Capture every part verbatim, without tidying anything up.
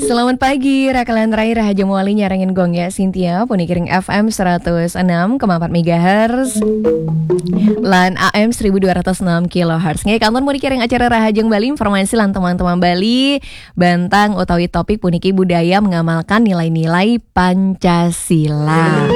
Selamat pagi, Rakalan Rai Rahajeng Wali nyarengin Gong ya, Cynthia, puniki ring F M seratus enam koma empat megahertz. Lan A M seribu dua ratus enam kilohertz. Nggih, kantun puniki ring acara Rahajeng Bali, informasi lan teman-teman Bali, bantang utawi topik puniki budaya mengamalkan nilai-nilai Pancasila.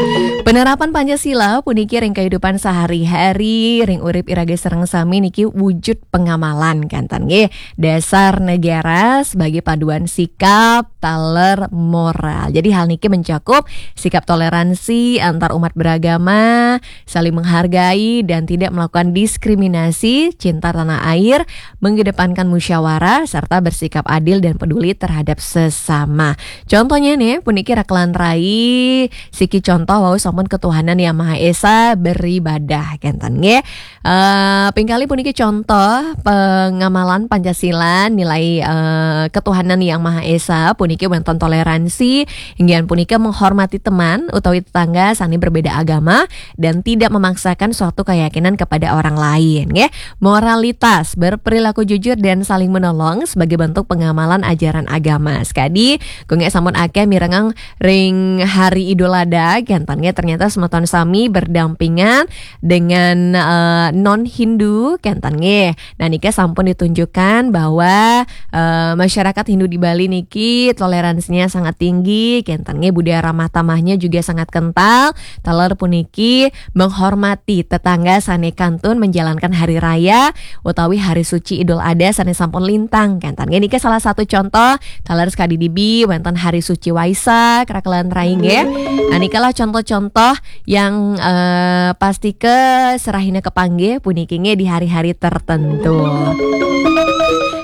Penerapan Pancasila puniki ring kehidupan sehari-hari, ring urip iraga sareng sami niki wujud pengamalan, kenten nggih. Dasar negara sebagai panduan sikap, taler, moral. Jadi hal niki mencakup sikap toleransi antar umat beragama, saling menghargai dan tidak melakukan diskriminasi, cinta tanah air, mengedepankan musyawarah, serta bersikap adil dan peduli terhadap sesama. Contohnya nih, puniki Rakalan Rai, siki contoh wau sampun ketuhanan Yang Maha Esa beribadah, kenten nggih. Eh, pingkali puniki contoh pengamalan Pancasila, nilai, eh, ketuhanan Yang Maha Esa, puniki wonten toleransi, inggih punika menghormati teman utawi tetangga sane berbeda agama dan tidak memaksakan suatu keyakinan kepada orang lain, nggih. Moralitas, berperilaku jujur dan saling menolong sebagai bentuk pengamalan ajaran agama. Sekadi, kok nggih sampun akeh mirengang ring hari Idul Adha, kenten nggih, ternyata semeton sami berdampingan dengan, eh, non Hindu, kenten nggih. Nah, nika sampun ditunjukkan bahwa, eh, masyarakat Hindu di Bali niki toleransinya sangat tinggi, kenten nggih, budaya ramah tamahnya juga sangat kental. Taler puniki menghormati tetangga sane kantun menjalankan hari raya utawi hari suci Idul Adha sane sampun lintang, kenten nggih. Nika salah satu contoh, taler sekadi dibi wonten hari suci Waisak, Rakalan Rai nggih. Nah, nikalah contoh-contoh yang, eh, pastika serahina kepanggih puniki nggih di hari-hari tertentu.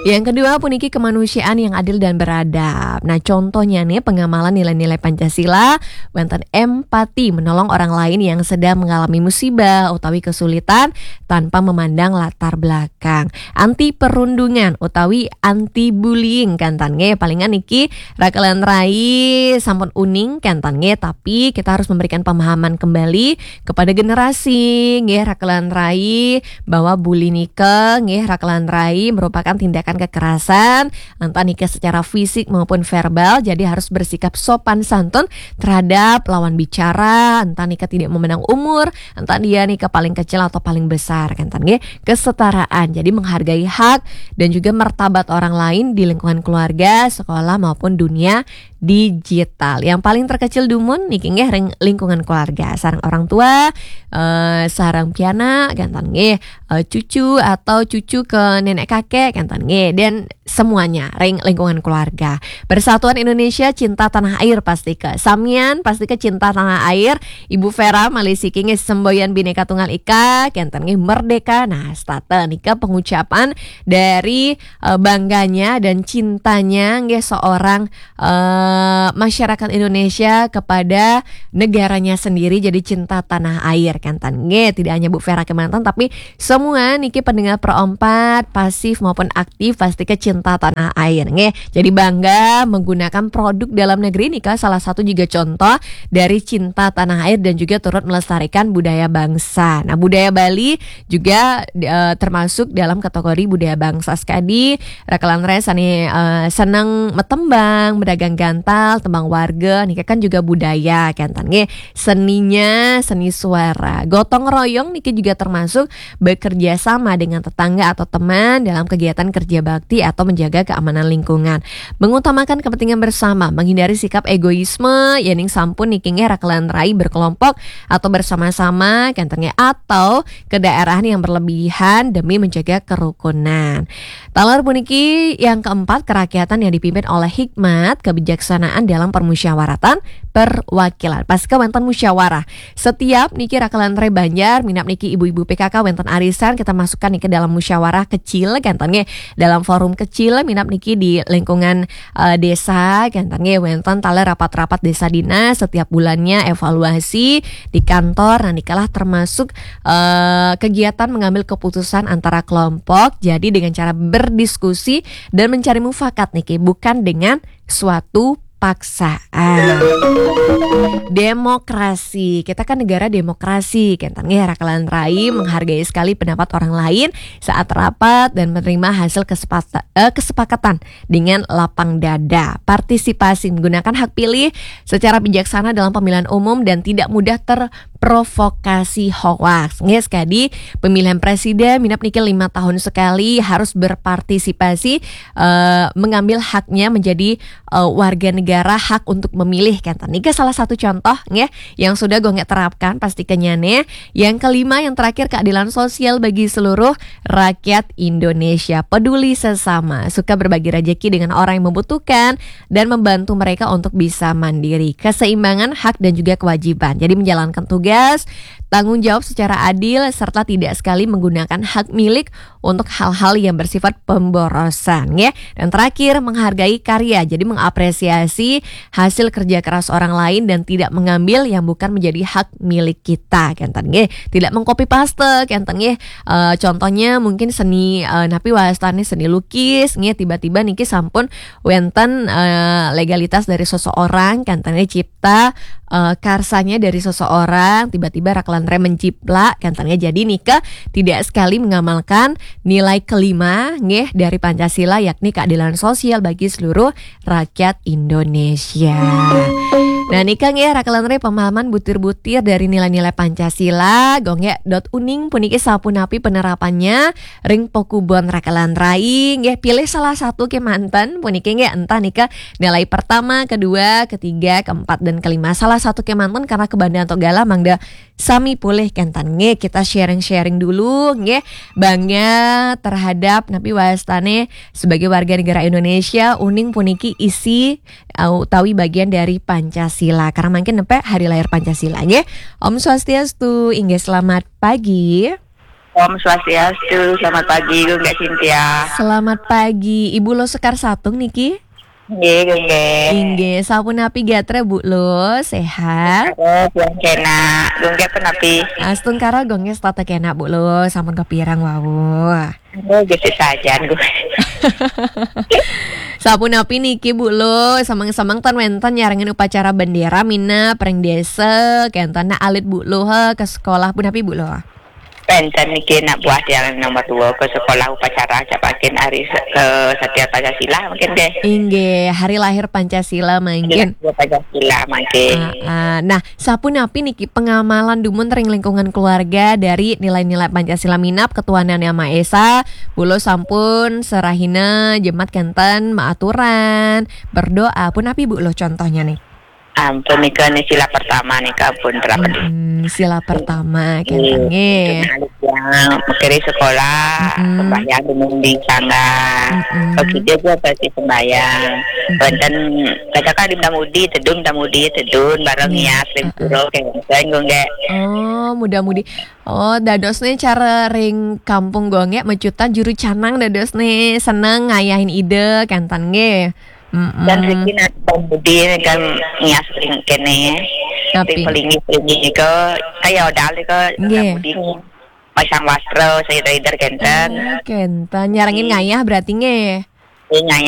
Yang kedua puniki kemanusiaan yang adil dan beradab. Nah, contohnya nih pengamalan nilai-nilai Pancasila, wonten empati, menolong orang lain yang sedang mengalami musibah utawi kesulitan tanpa memandang latar belakang. Anti perundungan utawi anti bullying, kenten nggih. Palingan niki Rakalan Rai sampun uning, kenten nggih, tapi kita harus memberikan pemahaman kembali kepada generasi nggih, Rakalan Rai, bahwa bully nika nggih, Rakalan Rai, merupakan tindakan kekerasan, entah nika secara fisik maupun verbal, jadi harus bersikap sopan santun terhadap lawan bicara, entah nika tidak memandang umur, entah dia nika paling kecil atau paling besar, kenten nggih. Kesetaraan, jadi menghargai hak dan juga martabat orang lain di lingkungan keluarga, sekolah maupun dunia digital. Yang paling terkecil dumun niki nggih ring lingkungan keluarga, sareng orang tua, eh, sareng pianak, kenten nggih, eh, cucu atau cucu ke nenek kakek, kenten nggih, dan semuanya ring lingkungan keluarga. Persatuan Indonesia cinta tanah air, pastika samian pastika cinta tanah air. Ibu Vera malih siki nggih semboyan Bhinneka Tunggal Ika, kenten nggih, merdeka. Nah, setata nika pengucapan dari, eh, bangganya dan cintanya nggih seorang, eh, masyarakat Indonesia kepada negaranya sendiri, jadi cinta tanah air, kenten nggih. Tidak hanya Bu Vera kemanten, tapi semua niki pendengar Pro empat, pasif maupun aktif, pastika cinta tanah air nggih. Jadi bangga menggunakan produk dalam negeri nika salah satu juga contoh dari cinta tanah air dan juga turut melestarikan budaya bangsa. Nah, budaya Bali juga, eh, termasuk dalam kategori budaya bangsa sekadi. Rakalan Rai sane, eh, seneng metembang, medagang gantal, tembang warga, nika kan juga budaya, kenten nggih. Seninya, seni suara. Gotong royong niki juga termasuk bekerja sama dengan tetangga atau teman dalam kegiatan kerja bakti atau menjaga keamanan lingkungan. Mengutamakan kepentingan bersama, menghindari sikap egoisme, yening sampun niki nggih Rakalan Rai berkelompok atau bersama-sama, kenten nggih, atau kedaerahan yang berlebihan demi menjaga kerukunan. Taler puniki yang keempat, kerakyatan yang dipimpin oleh hikmat, kebijaksanaan dalam permusyawaratan perwakilan. Pastika wonten musyawarah. Setiap niki Rakalan Rai Banjar, minab niki ibu-ibu P K K wonten arisan, kita masukkan niki dalam musyawarah kecil, kenten nggih, dalam forum kecil, minab niki di lingkungan, eh, desa, kenten nggih, wonten taler rapat-rapat desa dinas setiap bulannya, evaluasi di kantor. Nah, nikalah termasuk, eh, kegiatan mengambil keputusan antara kelompok. Jadi dengan cara berdiskusi dan mencari mufakat niki, bukan dengan suatu paksaan. Demokrasi. Kita kan negara demokrasi, kenten nggih, Raka lan Rai menghargai sekali pendapat orang lain saat rapat dan menerima hasil kesepata- eh, kesepakatan dengan lapang dada. Partisipasi, menggunakan hak pilih secara bijaksana dalam pemilihan umum dan tidak mudah terprovokasi hoaks. Nggih, sekali pemilihan presiden, minap niki lima tahun sekali harus berpartisipasi, eh, mengambil haknya menjadi eh, warga negara, hak untuk memilih, kenten. Niki salah satu contoh nggih yang sudah gonggek terapkan, pastikannya nih. Yang kelima, yang terakhir, keadilan sosial bagi seluruh rakyat Indonesia. Peduli sesama, suka berbagi rezeki dengan orang yang membutuhkan dan membantu mereka untuk bisa mandiri. Keseimbangan hak dan juga kewajiban. Jadi, menjalankan tugas, tanggung jawab secara adil, serta tidak sekali menggunakan hak milik untuk hal-hal yang bersifat pemborosan, ya. Dan terakhir, menghargai karya. Jadi, mengapresiasi hasil kerja keras orang lain dan tidak mengambil yang bukan menjadi hak milik kita, kenten nggih. Tidak mengcopy paste, kenten nggih. Eh, contohnya mungkin seni, eh, napi wastane seni lukis nggih, tiba-tiba niki sampun wenten, eh, legalitas dari seseorang, kenten nggih, cipta, eh, karsanya dari seseorang, tiba-tiba Raka lan Rai menciplak, kenten nggih. Jadi nika tidak sekali mengamalkan nilai kelima nggih dari Pancasila, yakni keadilan sosial bagi seluruh rakyat Indonesia. Nah, nika nggih, Raka lan Rai, pemahaman butir-butir dari nilai-nilai Pancasila. Gonggek dot uning puniki sapunapi penerapannya ring pakubon Raka lan Rai nggih. Pilih salah satu kemanten puniki nggih, entah nika nilai pertama, kedua, ketiga, keempat, dan kelima. Salah satu kemanten karena kebandaan to galah, mangda sami polih, kenten nggih. Kita sharing-sharing dulu nggih. Bangga terhadap napi wastane sebagai warga negara Indonesia, uning puniki isi, uh, utawi bagian dari Pancasila. Karena mungkin nempe hari lahir Pancasila nggih. Om Swastiastu, inggih, selamat pagi. Om Swastiastu, selamat pagi, Gunggak Cynthia. Selamat pagi, Ibu Lo Sekar Satung niki. Nggih, Gunggak. Inggih, sapunapi gatra, Bu Lo? Sehat? Sehat, yang kena. Gunggak penapi? Astungkara, Gunggak setata kena, Bu Lo. Sampun kapirang wau? Oh, gesik sajan, Bu. Sapunapi niki, Bu Lo? Semeng-semeng ten wenten nyarengin upacara bendera minap ring desa, kenten alit Bu Lo, he, ke sekolah punapi, Bu Lo? Wenten niki nak buah tiang nomor dua ke sekolah upacara, cak mangkin hari se-, ke Satya Pancasila mungkin deh. Inggih, hari lahir Pancasila mangkin. Hari lahir Pancasila mangkin. Ah, ah. Nah, sapunapi niki pengamalan dumun ring lingkungan keluarga dari nilai-nilai Pancasila minap ketuhanan Yang Maha Esa, Bu Lo sampun serahina jemat kenten, maaturan, berdoa, punapi Bu Lo contohnya nih? Ampun, nika nih sila pertama nih, ampun, terapin. Mm-mm, sila pertama, kenten nggih. Untuk anak yang mekere sekolah, mm-mm, sembahyang dumun di sangga. Mm-mm. Begitu juga pasti sembahyang. Mm-mm. Wenten, katakan di Mudi, tedun, di Mudi, tedun, bareng, mm-mm, ngias, ring, ah, ah, pura, kenten, Gunggak. Oh, muda-mudi. Oh, dados nih cara ring kampung Gunggak, mecutan juru canang dados nih seneng ngayahin ide, kenten nggih. Mm-mm. Dan riki nak pemudi kan ngias ring kene. Tapi ring pelingi-pelingi nika, kaya odal nika, nggih, pemudi pasang wastra, seder-seder kenten. Oh, kenten. Nyarengin, nggih, ngayah berarti nggih. Nggih, ngayah